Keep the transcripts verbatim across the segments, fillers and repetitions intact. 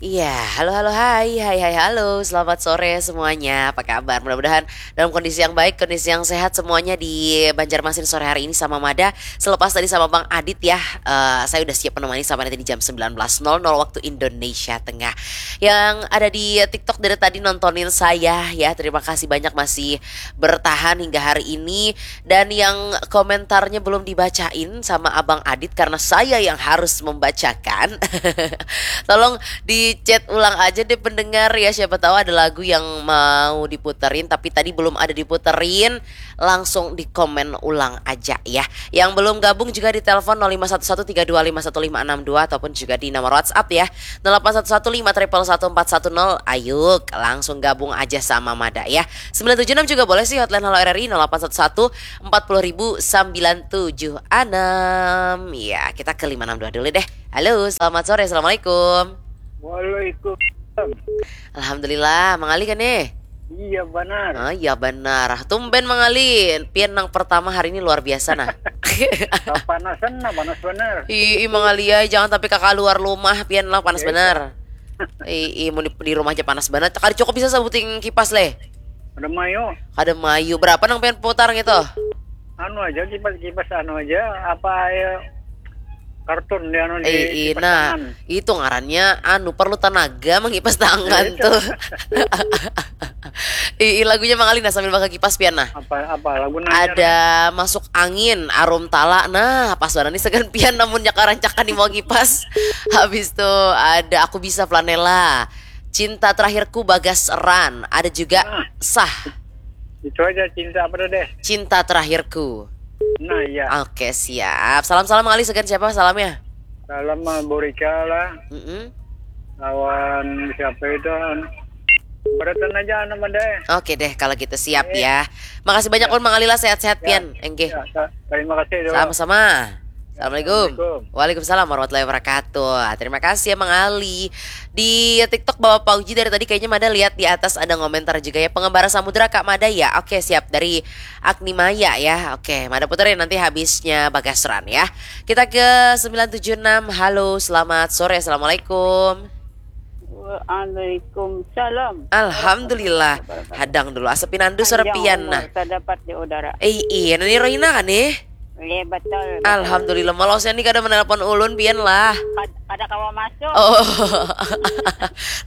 Iya, halo halo hai, hai hai halo, selamat sore semuanya, apa kabar? Mudah-mudahan dalam kondisi yang baik, kondisi yang sehat semuanya di Banjarmasin sore hari ini sama Mada. Selepas tadi sama Bang Adit ya, eh, saya udah siap menemani sampai nanti di jam sembilan belas nol nol waktu Indonesia Tengah. Yang ada di TikTok dari tadi nontonin saya ya, terima kasih banyak masih bertahan hingga hari ini. Dan yang komentarnya belum dibacain sama Abang Adit karena saya yang harus membacakan. Tolong di chat ulang aja deh pendengar ya, siapa tahu ada lagu yang mau diputerin tapi tadi belum ada diputerin, langsung di komen ulang aja ya. Yang belum gabung juga di telepon nol lima satu satu tiga dua lima satu lima enam dua ataupun juga di nomor WhatsApp ya, nol delapan satu satu lima triple satu empat satu nol. Ayo langsung gabung aja sama Mada ya. Sembilan tujuh enam juga boleh sih, hotline Halo R R I nol delapan satu satu empat puluh ribu sembilan tujuh enam. Ya, kita ke lima enam dua dulu deh. Halo, selamat sore. Assalamualaikum. Waalaikumsalam. Alhamdulillah, Mang Ali kan nih? Iya benar. Oh iya benar. Tumben Mang Ali, pian nang pertama hari ini luar biasa nah. Kepanasan nah, panas benar. Ih, ih, Mang Ali, ay, jangan tapi kakak luar rumah, pian lah panas Iya, benar. Ih, ih, mau di, di rumah aja panas banget. Kada cukup bisa sabuting kipas leh. Ada mayo. Kada mayu. Berapa nang pian putar gitu? Anu aja, kipas-kipas anu aja, apa ya, kartun di anu di Eh, kipas nah, tangan. Itu ngarannya anu perlu tenaga mengipas tangan Iya, tuh. Ih, ih, lagunya Mang Ali nah sambil bakal kipas pian nah. Apa apa lagu nanya? Ada masuk angin, arum tala. Nah, pas banget nih segan pian namunnya karancakan di mau kipas. Habis tuh ada aku bisa flanela. Cinta terakhirku Bagas Ran. Ada juga Nah. sah Itu aja, cinta apa tuh deh? Cinta terakhirku. Nah iya. Oke siap. Salam salam Mang Ali segan siapa salamnya? Salam sama Borika lah. Mm-mm. Lawan siapa itu? Beratan aja nama deh. Oke deh kalau gitu siap ya. Makasih banyak pun Mang Ali lah sehat-sehat pian. Enggih. Ya, sa- terima kasih dulu. Sama-sama. Assalamualaikum. Assalamualaikum. Waalaikumsalam warahmatullahi wabarakatuh. Terima kasih ya Mang Ali. Di TikTok Bapak Pauji dari tadi kayaknya Mada lihat di atas ada komentar juga ya. Pengembara Samudra Kak Mada ya. Oke siap dari Agni Maya ya. Oke, Mada puterin nanti habisnya Bagasran ya. Kita ke sembilan tujuh enam. Halo, selamat sore. Assalamualaikum. Waalaikumsalam. Alhamdulillah. Hadang dulu. Asapin andu suara Panjang pian umur nah. Terdapat di udara. Eh, iya, Nani Rohina kan nih? Iya betul. Alhamdulillah, malah saya nih kada menelpon ulun pian lah. Kad- Kada kawa masuk. Oh.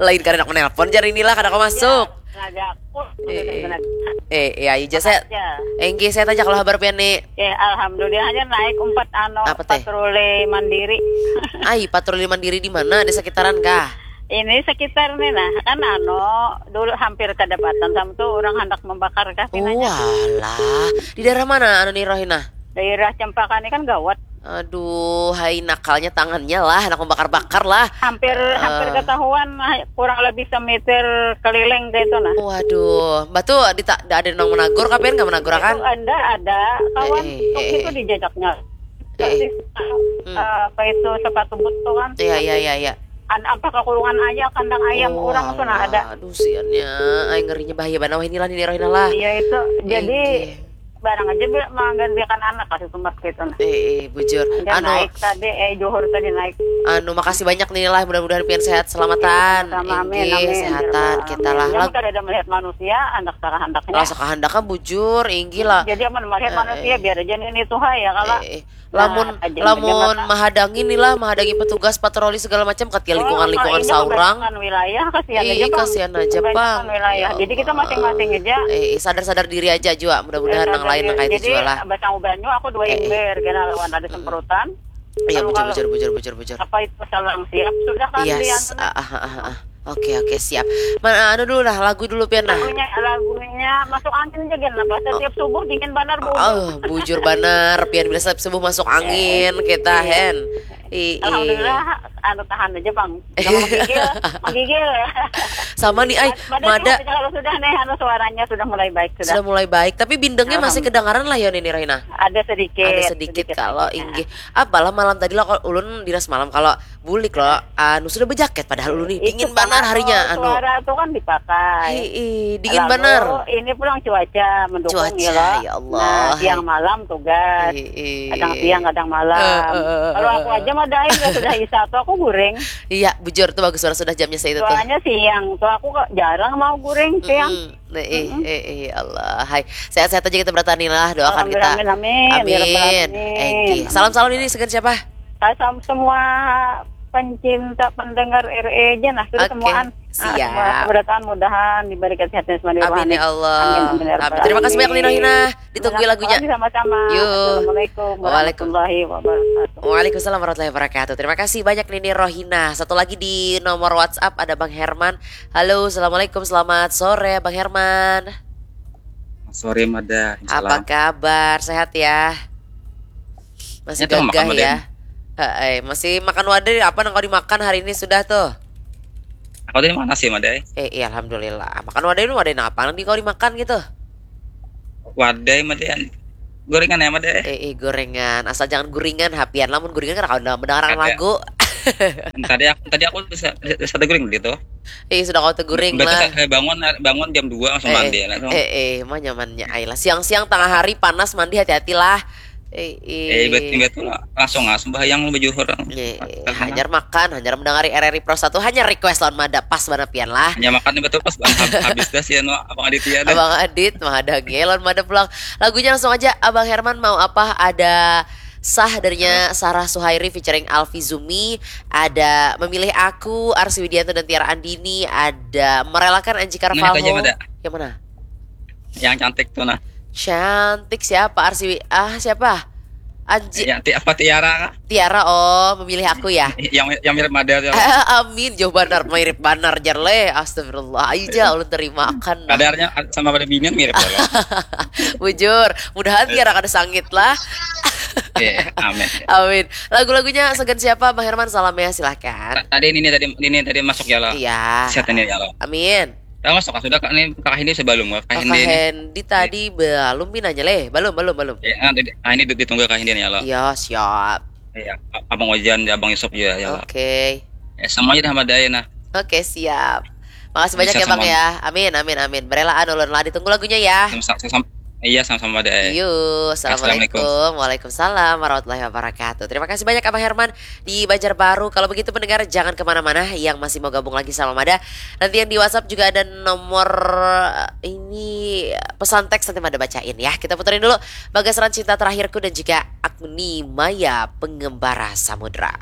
Lain kada nak menelpon jar inilah kada kawa masuk. Tenaga aku. Eh, Tenaga. eh, eh, ayo aja saya. Ya. Enggih, saya tajak lah kabar pian nih. Ya, alhamdulillah aja naik empat ano Apa teh? Patroli mandiri. Ai, patroli mandiri di mana? Di sekitaran kah? Ini sekitar nih nah, kan ano dulu hampir kedapatan sama tuh orang hendak membakar kah pinanya. Walah, di daerah mana anu nih Rohina? Daerah Cempaka ini kan gawat. Aduh, hai nakalnya tangannya lah, anak membakar-bakar lah. Hampir hampir ketahuan nah, kurang lebih semeter keliling gitu nah. Waduh, batu di tak ada nang menagur, kapian nggak menagur Itu kan? Anda ada kawan Eh, eh, truk eh, itu eh. Dijejaknya. Eh. Terus, eh, apa itu sepatu boot tuh kan? Iya, iya, iya, iya. An apa ke kurungan aja kandang ayam Oh, orang tuh nah ada. Aduh, siannya, ay ngerinya bahaya banget. Wah, inilah nih Rohina lah. Iya itu. Jadi Iya. Barang aja menggantikan anak kasih sumat gitu nah. Eh, eh, bujur. Dia Anu, naik tadi, eh Johor tadi naik. Anu, makasih banyak nih lah. Mudah-mudahan pian sehat selamatan. Sama amin, Inggih, amin. sehatan kita lah. Yang Lag- kada ada melihat manusia, anak kehendak-kehendaknya. Rasa kehendak kan bujur, inggih lah. Jadi aman melihat Eh, manusia eh. biar aja ini tuh ya kalau Eh, eh. Lamun Nah, aja lamun mata. Mahadangi nih lah, mahadangi petugas patroli segala macam, ketika Oh, lingkungan-lingkungan ini saurang. Kebanyakan wilayah kasihan Ih, aja Bang. Kasihan aja Kebanyakan pang. wilayah. Ya Jadi kita Allah. Masing-masing aja. Eh, eh, sadar-sadar diri aja juga. Mudah-mudahan Sadar nang lain diri. nang kayak itu Jadi juga lah. Basang ubanyu aku dua Eh, eh. ember kena lawan ada semprotan. Iya Kalau- bujur kalau- bujur bujur bujur bujur. Apa itu selang siap sudah kan Yes. Rian? Ah, ah, ah, ah, ah. Oke oke siap. Mana anu dulu lah lagu dulu pian nah. Lagunya lagunya masuk angin aja kan apa setiap subuh dingin banar bu. Oh, bujur banar pian bila setiap subuh masuk angin kita Iya. Hen. Ih, ih. Alhamdulillah anu tahan aja bang. Jangan menggigil, menggigil. Sama nih ay, Mada Mada sehat aja kalau sudah nih anu suaranya sudah mulai baik sudah. Sudah mulai baik, tapi bindengnya masih Alhamdulillah. Kedengaran lah ya Nini Rohina. Ada sedikit. Ada sedikit kalau inggih. Apalah malam tadi lah kalau ulun diras malam kalau bulik loh anu sudah berjaket padahal ulun nih dingin Itu banar kan, harinya oh, anu. Suara tuh kan dipakai. Hi, ih, dingin Lalu, banar. Ini pulang cuaca mendukung Cuaca, ya, loh. Ya Allah. Nah, siang malam tugas. Hi, ih. Kadang siang, kadang malam. Eh, eh, eh, Kalau eh, aku eh. Aja Mada ai, sudah isya tu aku guring. Iya, bujur tu bagus, sudah, sudah jamnya saitu tu. Soalnya siang tu aku kok jarang mau guring siang. Mm-mm. Nah, eh, eh, eh, Allah. Hai, sehat-sehat aja kita bertahan lah, doakan kita. Amin, amin, amin. Ya Rabbal Alamin. Enggih. Salam-salam ini dengan siapa? Salam semua pencinta pendengar R E J nah, sudah. Oke, semuaan. Ah, siap. Semua keberatan mudahan diberi kesehatan semua di rohani. Amin ya Allah. Amin, amin ya Rabbal Alamin. Amin. Terima kasih banyak Nino Hina. Ditunggu lagunya. Terima kasih sama-sama. Yuk. Assalamualaikum warahmatullahi wabarakatuh. Waalaikumsalam warahmatullahi wabarakatuh. Terima kasih banyak Nini Rohina. Satu lagi di nomor WhatsApp ada Bang Herman. Halo, assalamualaikum, selamat sore Bang Herman. Sore Mada. Apa kabar? Sehat ya? Masih gagah ya? Heeh, masih makan wadai apa nang kau dimakan hari ini sudah tuh? Aku tadi makan nasi Mada. Eh, iya alhamdulillah. Makan wadai ini wadai apa nang di kau dimakan gitu? Wadai Mada. Gorengan ya Mada. Eh, eh gorengan. Asal jangan guringan hapian. Lamun guringan kada kawan mendengarkan lagu. Tadi aku tadi aku bisa bisa teguring gitu. Eh, sudah kau teguring lah. Saya bangun bangun jam dua langsung eh, mandi eh, langsung. Eh, eh, mah nyamannya ai lah. Siang-siang tengah hari panas mandi hati-hati lah. Eh, eh. Eh, betul betul lah. Langsung lah sembahyang lu baju orang. Eh, eh, hanyar makan, hanyar mendengari R R I Pro satu, hanya request lawan mada pas banapian lah. Hanya makan betul pas habis dah sih anu Abang Aditya dah. Abang Adit mah ada gelon mada pulang. Lagunya langsung aja Abang Herman mau apa ada Sah darinya Sarah Suhairi featuring Alfi Zumi, ada Memilih Aku, Arsi Widianto dan Tiara Andini, ada Merelakan Anji Carvalho. Yang mana? Yang cantik tuh nah. Cantik siapa Arsi? Ah siapa? Anji. Ya, ti apa Tiara? Tiara oh memilih aku ya. Yang yang mirip Mada tuh. Amin jauh benar mirip benar jer leh. Astagfirullah. Ayo aja ulun terima akan. Kadarnya sama pada binian mirip. Bujur. Mudahan Tiara kada sangit lah. Iya, amin. Amin. Lagu-lagunya segan siapa Bang Herman salam ya silahkan. Tadi ini tadi ini tadi masuk ya lo. Iya. Sehat ini ya lo. Amin. Tahu masuk sudah kak ini kak Hindi sebelum kak Hindi. Kak Hindi tadi belum pinanya leh, belum belum belum. Ya, nah, ini ditunggu kak Hindi ya lo. Iya siap. Iya, abang Ojan, abang Yusuf juga ya lo. Oke. Ya, semuanya dah madai nah. Oke siap. Makasih banyak ya Bang ya. Amin amin amin. Berelaan ulun lah ditunggu lagunya ya. Sama, sama, Iya, sama-sama deh. Yuk, assalamualaikum. Assalamualaikum. Waalaikumsalam warahmatullahi wabarakatuh. Terima kasih banyak Abang Herman di Banjarbaru. Kalau begitu pendengar jangan kemana-mana yang masih mau gabung lagi sama Mada. Nanti yang di WhatsApp juga ada nomor eh, ini pesan teks nanti Mada bacain ya. Kita puterin dulu Bagasaran Cinta Terakhirku dan juga Agni Maya Pengembara Samudra.